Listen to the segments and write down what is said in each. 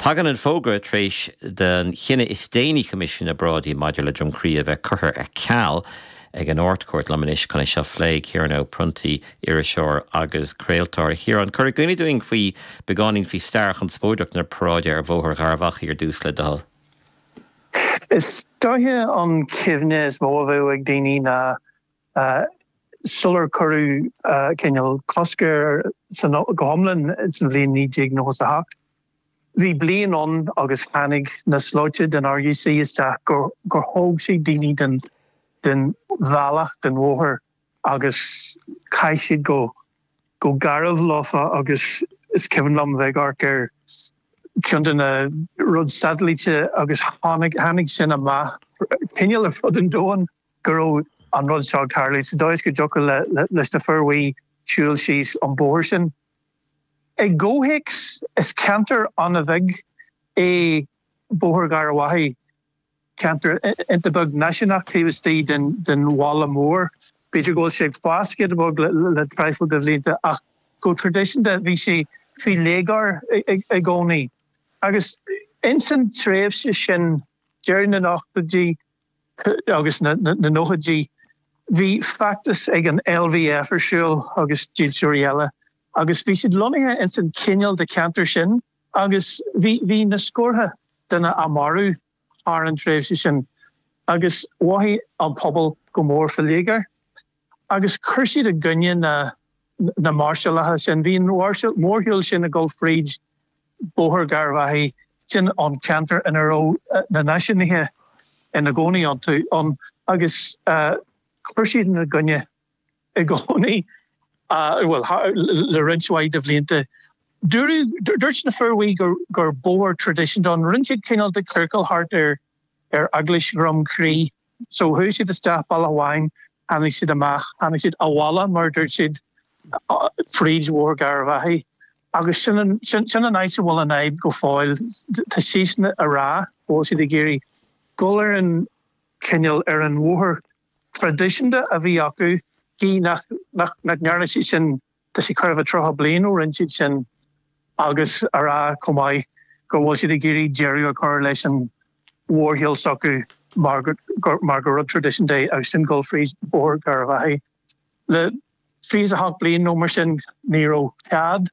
Tagann an fógra tar éis don chinneadh is déanaí Choimisiún na bParáidí maidir le Droim Crí a bheith curtha ar ceal ag an Ard-Chúirt. Liom anois chun é seo a phlé, Ciarán Ó Pronntaigh, iriseoir agus craoltóir. A Chiaráin, cuir i gcuimhne dúinn faoi beagáinín faoi stair chonspóideach na paráide ar Bhóthar Gharbh Achaidh ar dtús le do thoil. Is dóiche an chuimhne is mó a bheadh ag daoine ná sular cuireadh cineál cosc air go hiomlán sa bhliain 1998. Bhí bliain ann agus tháinig na slóite den RUC isteach gur thóg siad daoine den den bhealach, den bhóthar agus chaith siad go go garbh leofa agus is cuimhin liom bheith ag amharc ar ceann de na rud satailíte agus tháinig tháinig sin amach cineál ar fud an domhain. go raibh an rud seo ag tarlú sa dóigh is go dtiocfadh leis na fir bhuí siúl síos an bóthar sin. I gcomhthéacs, is ceantar an-bheag é Bóthar Gharbh Achaidh, ceantar iontach beag náisiúnach taobh istigh den bhaile mór. B'fhéidir go bhfuil sé ag fás giota beag le traidhfil de bhlianta ach go traidisiúnta bhí sé faoi léigear i gcónaí. Agus ins an tréimhse sin, deireadh na n-ochtóidí, agus na nóchaidí, bhí feachtas ag an LVF ar siúl agus dílseoirí eile agus bhí siad lonnaithe ins an chineál de cheantar sin agus bhí bhí na scórtha duine á marú thar an tréimhse sin agus mhothaigh an pobal go mór faoi léigear agus chuir siad i gcoinne na na máirseálacha sin. Bhí an mhórshiúl sin ag dul fríd Bóthar Gharbh Achaidh, sin an ceantar ina raibh na náisiúnaithe ina gcónaí iontu ann agus chuir siad ina gcoinne i gcónaí, bhuel, le roinnt mhaith de bhlianta. Dúradh, dúirt na fir bhuí gur bóthar traidisiúnta ann. Rinne siad cineál de chiorcal thart ar Eaglais Dhroim Crí. So chuaigh siad isteach bealach amháin, tháinig siad amach, tháinig siad abhaile mar a dúirt siad, fríd Bhóthar Gharbh Achaidh. Agus sin an, sin, sin an áit a bhfuil an fhadhb go fóill. Tá siadsan a rá go bhfuil siad ag iarraidh dul ar an cineál, ar an bhóthar traidisiúnta a bhí acu, gidh nach, nach, nach ndearna siad sin Tá sé chóir a bheith 30 bliain ó rinne siad sin agus a rá chomh maith go bhfuil siad ag iarraidh deireadh a chur leis an mhórshiúl s'acu mar mar gur rud traidisiúnta é agus sin dul fríd Bóthar Gharbh Achaidh. Le 28 bliain nó mar sin ní raibh cead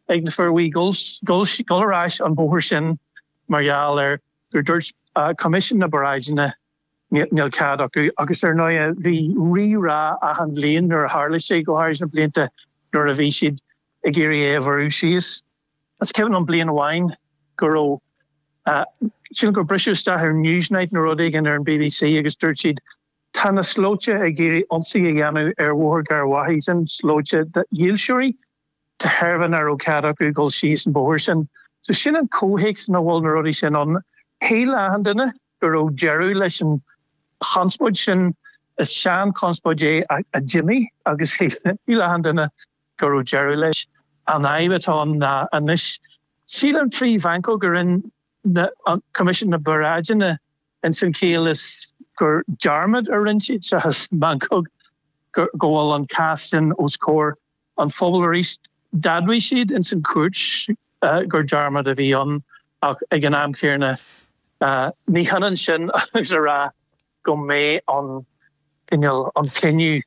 ag na fir bhuí dul dul ar ais an bóthar sin mar gheall ar gur dúirt Coimisiún na bParáideanna Níl cead acu. Agus ar ndóigh bhí rí-rá achan bhliain nuair a tharla sé, go háirid na blianta nuair a bhí siad ag iarraidh é a bhorradh síos. Is cuimhin liom bliain amháin go raibh, sílim gur briseadh isteach ar Newsnight nó rud éigin ar an bbc agus dúirt siad tá na slóite ag iarraidh ionsaí a dhéanamh ar Bhóthar Gharbh Achaidh, sin slóite de dhílseoirí. de thairbhe nach raibh cead acu dul síos an bóthar sin. So sin an comhthéacs ina bhfuil na rudaí sin ann. Shíl achan duine go raibh deireadh leis an chonspóid sin. Is sean-chonspóid é a d'imigh agus shíl achan duine go raibh deireadh leis. An fhadhb atá ann ná anois, sílim trí mheancóg a rinne Coimisiún na bParáideanna ins an chiall is gur dearmad a rinne siad seachas meancóg go bhfuil an cás sin os comhair an phobail arís. D'admhaigh siad ins an chúirt gur dearmad a bhí ann ach ag an am chéanna ní hionann sin agus a rá go mbeidh an cineál, an cinneadh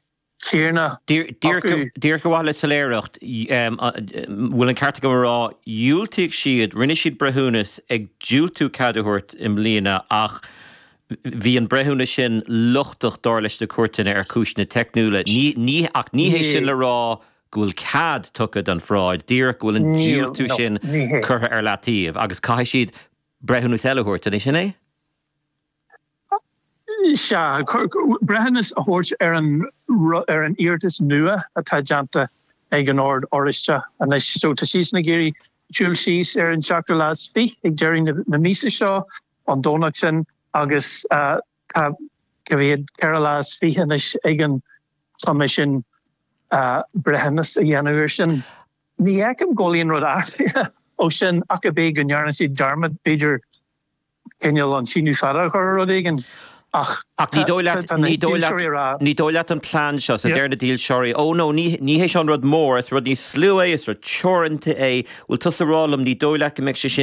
céanna acu. Díreach ar mhaithe le soiléireacht, bhfuil an ceart agam a rá, dhiúltaigh siad, rinne siad breithiúnas ag diúltú cead a thabhairt i mbliana ach Bhí an breithiúnas sin lochtach, dar leis na cúirteanna, ar chúiseanna teicniúla. Ní, ach ní hé sin le rá go bhfuil cead tugtha don pharáid, díreach go bhfuil an diúltú sin curtha ar leataobh agus caithfidh siad breithiúnas eile a thabhairt, an é sin é? Sea, breithiúnas a thabhairt ar an, ar an iarratas nua atá déanta ag an Ord Oráisteach anois. So tá siadsan ag iarraidh siúl síos ar an seachtú lá is fiche ag deireadh na míosa seo. an Domhnach sin agus tá cá mhéad, 24 lá anois ag an Choimisiún breithiúnas a dhéanamh air sin. Ní fheicim go bhfuil aon rud athraithe ó sin ach ab é go ndearna siad dearmad, b'fhéidir, cineál an síneadh fada a chur ar rud éigin ach Ach ní dóigh leat, tá na ní dóigh leat, dílseoirí ag rá. ní dóigh leat an plean seo, so deir na dílseoirí, oh no, ní, ní hé seo an rud mór, is rud níos lú é, is rud teoranta é, bhfuil tusa ag rá liom, ní dóigh leat go mbeidh sé sin.